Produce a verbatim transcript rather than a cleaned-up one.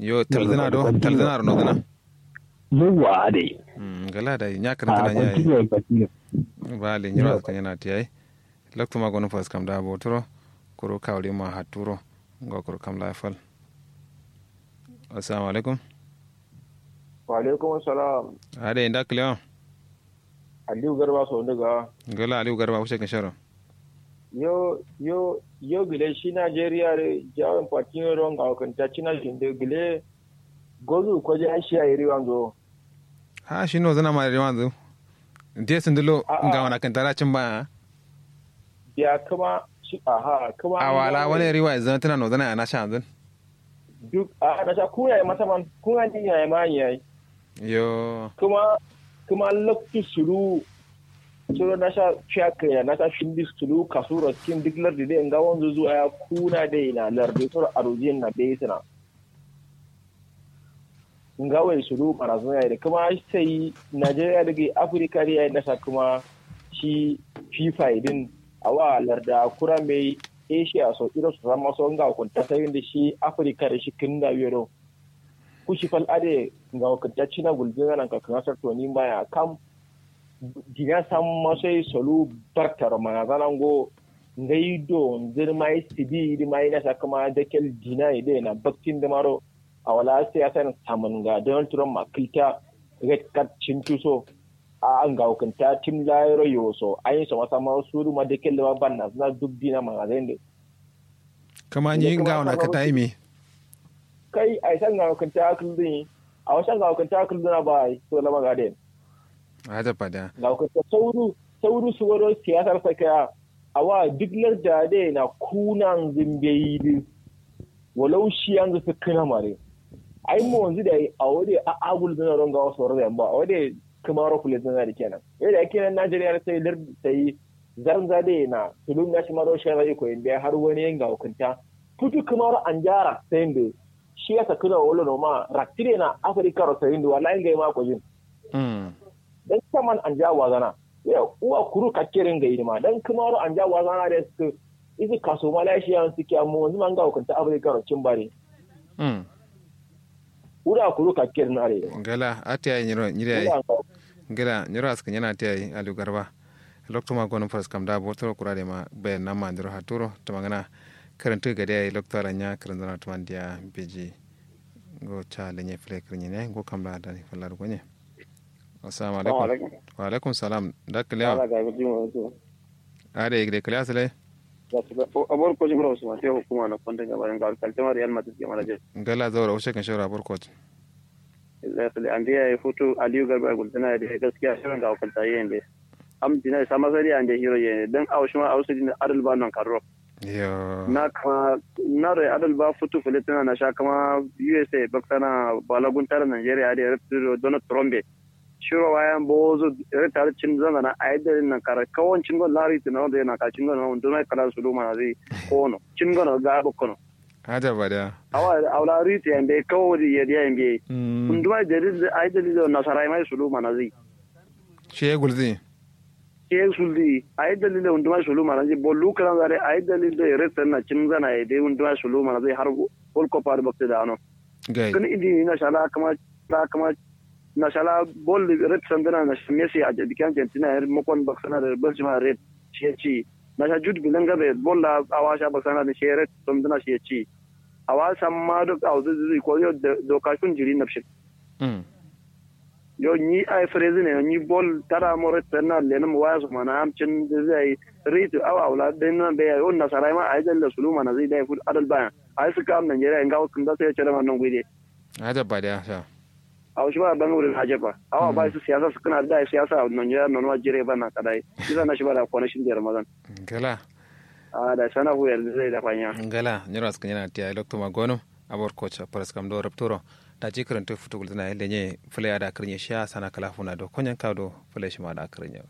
Yo, taldǝna do, taldǝna ro nodǝna. Yauwa adai. Mm, ngala dai nya karantǝna nya yayi. Bale nyiro askǝ nyana tiyayi. Loktu ma gonu faskam da boturo. Kuru kawri ma haturo. Ngo kuru kam la fal. Assalamu alaikum. Wa alaikum salam. Adai nda kǝlewa. Aliyu garba so ndiga. Ngala aliyu garba wuce kǝnsharo. Yo yo yo gǝle shi najeriya dǝ jawin fatin yo do ngawo kǝnta cina shinde gǝle. Gozu ko ja shi yayi riwanzo. Ha shi nozǝna ma riwanzo. De sǝndǝlo. Ngawo na kǝnta da cin ba. Biya kǝma shi aha kǝma awala wani riwa zantǝna nozǝna ya na sha zan. Duk a nasha kun yayi mata man kun an din yayi ma yayi. Yo. Kuma kuma loktu sulu. Sulu nasha fiya kaya nasha shindi sulu kasuro tin duk lardi dai nga wanzu zuwa ya kuna dai na lardi suro arujin na bai sina. Nga wai sulu marazun yayi da kuma sai najeriya daga afirka da yayi nasa kuma shi fifa din awa larda kura mai asia so iro su zama so nga kunta sai da shi afirka da shi kin da yero. Kushi fal ade nga wakilta cina gulzina nan ka kanga sarto ni mbaya kam. Dina samma sai solu bartaro mana zana ngo ngai do nzir mai sidi idi mai nasa kuma dakel dina ide na baktin da maro. Awala siyasa na samun ga donald trump ma kilta red card cintuso. A nga wakilta tim layiro yoso ayin so masa maro suru ma dakel da ma banna zana duk dina mana zai. Kǝma nyi ngawo na kǝta yimi. Kai ai sha ngawo kǝnta kǝldǝn yi. Awo sha ngawo kǝnta kǝldǝn a ba ai to lama gaden. Aja fada. Ngawo kǝnta sauru sauru suworo siyasar sakiya. Awa duk larda de na kuna nzǝmbe yi dǝ. Walau shi yanzu sǝkkǝna mare. Ai mo yanzu da yi awo de a agul zana ro ngawo soro da yamba awo de kǝmaro fule zana da kenan. Yau da kenan najeriya sai larda sai. Zarnza de na tulun na shima ro shara iko inde har wani yanga hukunta. Futu kuma ro anjara sai inde. Shi ya sakuna wolo no ma raktire na afirka ro sai inde wallahi ngai ma ko jin. Dan kaman anja wazana. Yau uwa kuru kakkere ngai ma dan kuma ro anja wazana de su. Isi kaso ma lai shi yan suke amma wanzu ma nga hukunta afirka ro cin bare. Wura kuru kakkere na re. Ngala ati ai nyiro nyiri ai. Ngala nyiro askǝ nyana ati ai aliyu garba. Loktu ma gonǝm faras kam da botoro kura de ma bayan na mandiro haturo tuma ngana. Kǝrǝntǝ gade ai loktu ala nya kǝrǝntǝ na tuma ndiya beji. Ngo ca lenye fule kǝrǝnyi ne ngo kam la dani fallar gonye. Assalamu alaikum. Wa alaikum salam. Da kalewa. Ada igde kalewa sale. Abor ko jimro usman te hukuma na konde ga bayan ga kaltama real madrid ga manager. Ngala zaura ushe kan shawara abor ko. Exactly ande ya futu aliyu garba gultana da gaskiya shirin ga hukunta yayin da. Am dina sama sari ande hiro yayin dan aushima ausu din adal ba nan karro. Yo. Na kama na rai adal ba futu filitina na sha kama usa baksana balagun tara nigeria da ya rafi donald trump. Shiro wayan bozo rai tare cin zangana a yadda nan kara kawon cin gon lari tunan da yana ka cin gon wanda mai kala su luma na zai kono cin gon ga bakkono. Aja ba da. Awa aula riti yambe kawo di yadi yambe. Unduma dalil ai dalil nasarai mai sulu mana zai. Shi ya gulzi. Shi ya suldi ai dalil unduma sulu mana zai bollu kalan zare ai dalil da red na cin zana ya dai unduma sulu mana zai har gol kofa da bakta da ano. Gai. Kan idi ni na shala kama kama na shala bol red sandana na messi a dikan argentina ya makon baksana da benzema red. Shi ya ci na sha jud bilan gabe bol da awa sha baksana da shi red sandana shi ya ci. Awa samma duk auzu zuzu ko yo doka shun jiri napshin. Yo nyi ai frezi ne nyi bol tara mo ret na lenum waya so mana am cin zai ritu awa wala den na be yo na sarai ma ai dalle sulu mana zai dai fut adal baya. Ai su kam nigeria ngawo kun da sai cere ma non guide. Aja ba da sha. Awa shi ba ban wurin aja ba awa ba su siyasa su kana da siyasa nigeria non wa jire ba na kadai. Kisa na shi ba da connection da ramadan. Kala. A da sana fu yar zai da fanya. Ngala nyiro askǝ nyana tiya loktu ma gonum. Abor kocha paras kam do rapturo. Daji kǝrǝntǝ futu gultǝna yelle nye fǝle ada kǝrǝnye shiya sana kala funa do konyen kawo do fǝle shima ada kǝrǝnye.